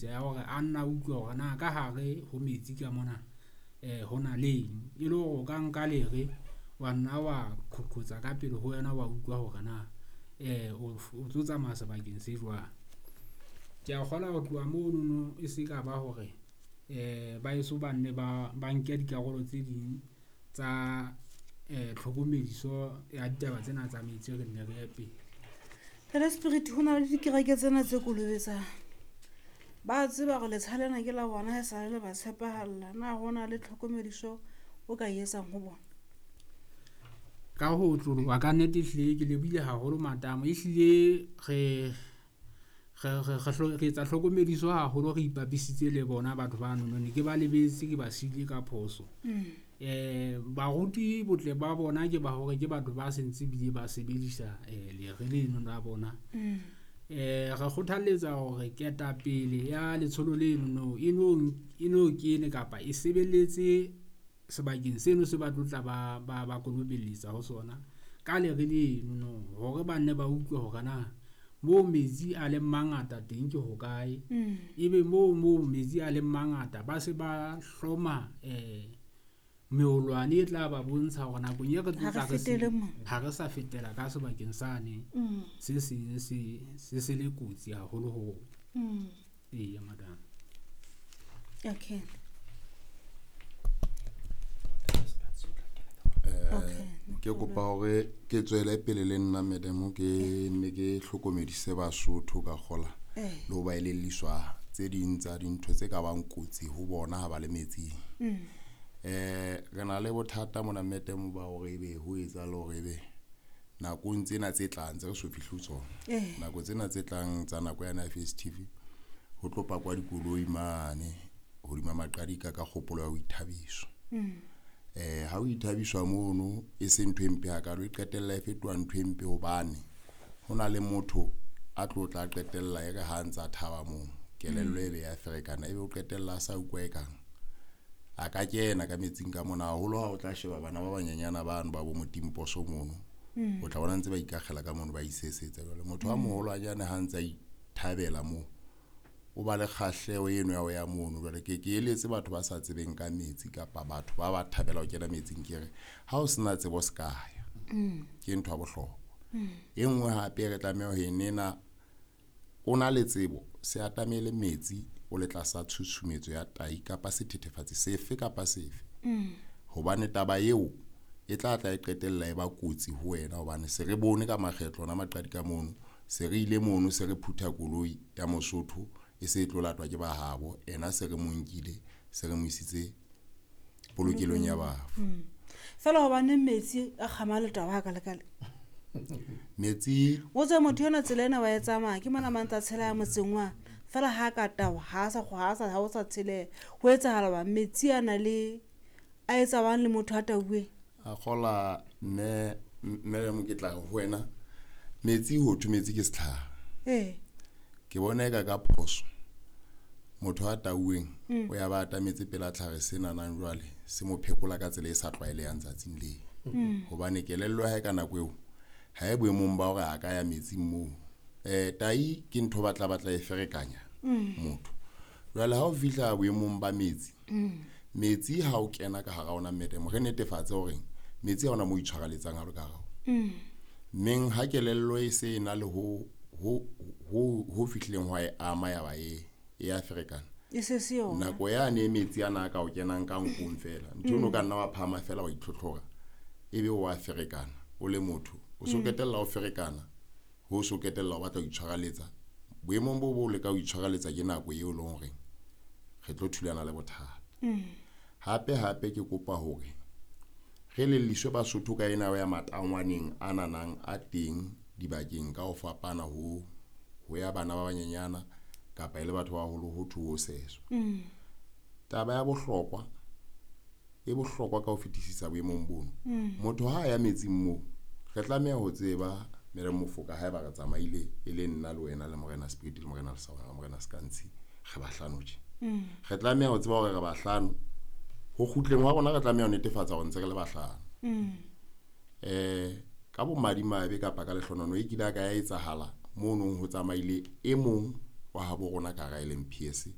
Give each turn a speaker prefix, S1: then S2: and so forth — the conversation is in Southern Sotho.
S1: Ya hore a nna utlwe hore na ka hare ho metsi ka mona ho na le eng? E le hore o ka nka lere wa nna wa qhoqotsa ka pele ho wena, wa utlwa hore na o tlo tsamaya sebakeng se jwang. Ke a kgolwa ho tloha monono e se ka ba hore ba eso ba nne ba nke dikarolo tse ding tsa tlhokomediso ya ditaba tsena tsa metsi, re nne re ye pele.
S2: Ntate Spirit ho na le dikereke tsena tse kolobetsang. Ba tseba hore letsha lena ke la bona ha esale le ba tshepahalla. Na ho na le tlhokomediso o ka e etsang ho bona?
S1: Ka ho otloloha kannete ehlile ke lebohile haholo matamo. Ehlile re etsa tlhokomediso haholo re ipapisitse le bona batho banono. Ne ke ba lebetse, ke ba siile ka phoso. Baruti botle ba bona ke ba hore ke batho ba sentse ebile ba sebedisa lere leno la bona. Re kgothalletsa hore ketapele ya letsholo lenono e no kene kapa e sebeletse sebakeng seno se ba tlotla ba kolobelletsa ho sona ka lere lenono hore ba nne ba utlwe hore na moo metsi a leng mangata teng ke hokae? Ebe moo metsi a leng mangata, ba se ba hloma meolwane e tla ba bontsha hore nakong e re
S2: Ha
S1: tlo
S2: re
S1: tla re se,
S2: fetele mona.
S1: ha re sa fetela ka sebakeng sane se seng se le kotsi haholo ho rona. Eya, madam.
S2: Okay. Okay.
S3: Ke kopa hore ke tswele pele le nna madam, ke nne ke hlokomedise Basotho ka kgola le ho ba elelliswa tse ding tsa dintho tse ka bang kotsi ho bona ha ba le metsing. Re na le bothata mona madam ba hore ebe ho etsahala hore ebe nakong tsena tse tlang tse re so fihle ho tsona. Nako tsena tse tlang tsa nako yana ya festive, ho tlo pakwa dikoloi mane hodima maqadika ka kgopolo ya ho ithabiswa. Ha o ithabiswa mono e se ntho e mpe hakalo, e qetella e fetoha ntho e mpe hobane ho na le motho a tlo tla qetella e re ha ntsa thaba moo, kelello e be ya ferekana, ebe o qetella a sa utlwa e kang a ka kena ka metsing ka mona. Haholo ha o tla sheba bana ba banyenyana bano ba bo motimposo mono, o tla bona ntse ba ikakgela ka mono, ba isesetsa. Jwale motho a moholwanyane ha ntse a ithabela moo, o ba le kgahleho eno ya ho ya mono. Jwale ke eletse batho ba sa tsebeng ka metsi kapa batho ba ba thabela ho kena metsing, ke re ha o sena tsebo se ka ya. Ke ntho ya bohlokwa. E nngwe hape re tlameha ho e nena, o na le tsebo, se atamele metsi o le tlasa tshusumetso ya tai kapa sethethefatsi sefe kapa sefe. Hobane taba eo e tla tla e qetella e ba kotsi ho wena, hobane se re bone ka makgetlo ona maqadi ka mono, se re ile mono, se re phutha koloi ya Mosotho e se e tlo latwa ke ba habo, ena se re mo nkile, se re mo isitse polokelong ya bafu.
S2: Feela hobane metsi a kgama letaba ha ka le ka le.
S3: Metsi
S2: O tswe motho ena tsela ena wa e tsamaya, ke mona mantsa tshela ya motseng wa. Feela ha ka tawa, ha sa ha sa, ha o sa tsheleha. Ho etsahala bang metsi a na le a etsa bang le motho a tauweng?
S3: A kgola mme mo ke tla ho wena. Metsi ho thwe metsi ke setlhare. Ke bona eka ka phoso motho a tauweng o ya ba atametse pela tlhare sena nang jwale se mo phekola ka tsela e sa tlwaelehang tsatsing leo. Hobane kelello ya hae ka nako eo ha e boemong ba hore a ka ya metsing moo. Tai ke ntho ba tla batla e ferekanya motho. Jwale ha o fihla boemong ba metsi, metsi ha o kena ka hara ona madam, re netefatse hore metsi ha ona mo itshwareletsang ha o le ka hara ona. Mmeng ha kelello e se e na le ho fihlileng hwa e ama ya ba e ya ferekana.
S2: E se se yona.
S3: Nako yane metsi ana a ka o kenang ka nkong feela, ntho eno ka nna wa phahama fela wa itlhotlhora, ebe o a ferekana o le motho. O so qetella o ferekana, ho so qetella o batla ho itshwareletsa. Boemong bo bo leka ho itshwareletsa ke nako eo e leng hore re tlo thulana le bothata. Hape hape ke kopa hore re lelliswe Basotho ka ena ya matangwaneng a nanang a teng dibakeng ka ho fapana ho ya bana ba banyenyana kapa e le batho ba baholo ho thwe ho seswa. Taba ya bohlokwa e bohlokwa ka ho fetisisa boemong bono. Motho ha a ya metsing moo, re tlameha ho tseba Madam Mofoka, haeba re tsamaile e le nna le wena le Morena Spirit le Morena Lesawana le Morena Sekantshi, re bahlano tje. Re tlameha ho tseba hore re bahlano. Ho kgutleng hwa rona re tlameha ho netefatsa hore ntse re le bahlano. Ka bomadimabe kapa ka lehlonono e kile ya ka ya etsahala mono ho tsamaile e mong wa habo rona ka hara LMPS.